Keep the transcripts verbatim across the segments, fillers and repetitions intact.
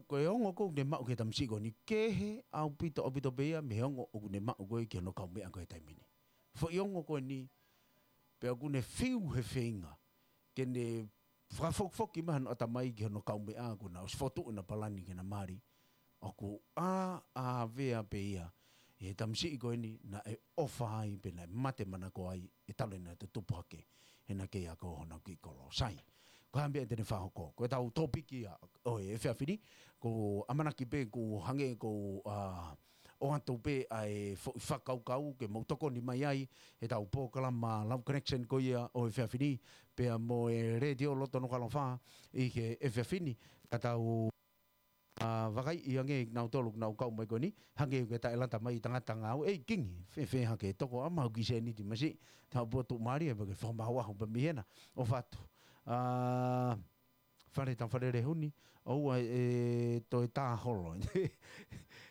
Ko e ongo ʻoku ne maʻu ki he tamasiʻi ko eni, kehe ʻaupito, ʻaupito pē ia mei he ongo ʻoku ne maʻu ko ē ki hono kaumeʻa ko ē he taimi ni. Foʻi ongo ko eni, pea ʻoku ne fiu he feinga ke ne fakafokifoki mai hono ʻatamai ki hono kaumeʻa, kuo na ʻosi fokotuʻu ʻena palani ke na mali. ʻOku ʻā, ʻāvea pē ia ʻi he tamasiʻi ko eni naʻe ʻofa ai pea naʻe mate manako ai, ʻe talu ʻena tutupu hake he naʻe kei ako honau kiʻi kolo. Sai, ko e hā e meʻa te ne fakahoko? Ko ʻetau tōpiki ia ʻo e efiafi ni, ko e ʻamanaki pē ʻoku hangē ko e, ʻa, ʻoatu pē ʻa e foʻi fakakaukau ke mou tokoni mai ai heʻetau polokalama Love Connection ko ia ʻo e efiafi ni, pea mo e Letiō Loto Nukuʻalofa ʻi he efiafi ni, ka tau, ʻa, vakaiʻi ange kinautolu ʻoku nau kau mai ko eni, hangē ko e taʻelata mai tangata ngāue, ʻei Kingi, fēfē hake toko ʻa mau ki sēniti masiʻi, tau potu mali e pake fakamahuahu pē mei hena, ʻofa atu. ʻA, Fale, tau Fale Lehuni, ʻoua ʻe toe tā holo.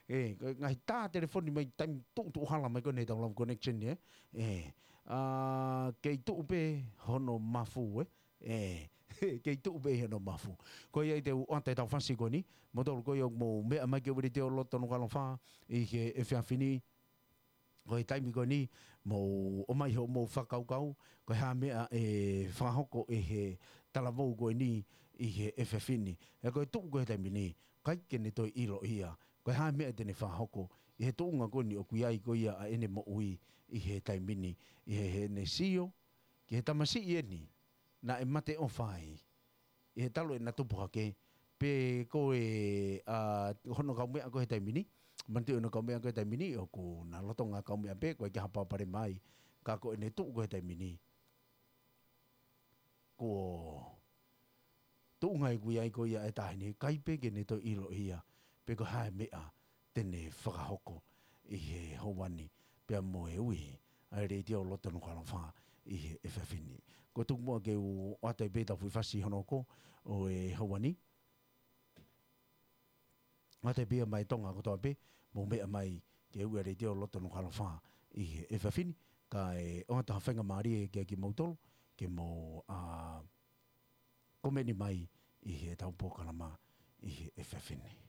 ʻE, ko e ngaahi tā telefoni mai taimi tuʻutuʻu hala mai ko eni heʻetau Love Connection, ē? ʻE, ʻa, kei tuʻu pē hono mafu, ē? ʻE, kei tuʻu pē hono mafu. Ko ia ai te u ʻoatu ʻetau fasi ko eni, moutolu ko ia ʻoku mou meʻa mai ki he Letiō Loto Nukuʻalofa ʻi he efiafi ni, ko e taimi ko eni, mou ʻomai hoʻomou fakakaukau, ko e hā e meʻa ʻe fakahoko ʻe he talavou ko eni ʻi he efiafi ni. He ko e tuʻu ko ē he taimi ni, ʻikai ke ne toe ʻilo ia, ko e hā e meʻa te ne fakahoko ʻi he tuʻunga ko eni ʻoku ʻi ai ko ia ʻa ʻene moʻui ʻi he taimi ni, ʻi he, heʻene sio ki he tamasiʻi eni naʻe mate ʻofa ai, ʻi he talu ʻena tupu hake, pe ko e, ʻa, hono kaumeʻa ko ē he taimi ni, manatuʻi hono kaumeʻa ko ē he taimi ni, ʻoku na lolotonga kaumeʻa pē, ʻoku ʻikai ke ha palopalema ai, ka ko ʻene tuʻu ko ē he taimi ni, ko e tuʻunga ʻoku ʻi ai ko ia e taʻahine, ʻikai pē ke ne toe ʻilo ia, pe ko e hā e meʻa te ne fakahoko ʻi he houa ni, pea mo e ui ʻa e Letiō Loto Nukuʻalofa ʻi he efiafi ni. Ko e tuku muʻa ke u ʻoatu ai pē ʻetau foʻi fasi hono hoko ʻo e houa ni. ʻOatu ai pē ia maʻa e Tonga kotoa pē, mou meʻa mai ki he ui ʻa e Letiō Loto Nukuʻalofa ʻi he efiafi ni, kae ʻoatu ha faingamālie kiate kimoutolu, ke mou, ʻa, komeni mai ʻi heʻetau polokalama ʻi he efiafi ni.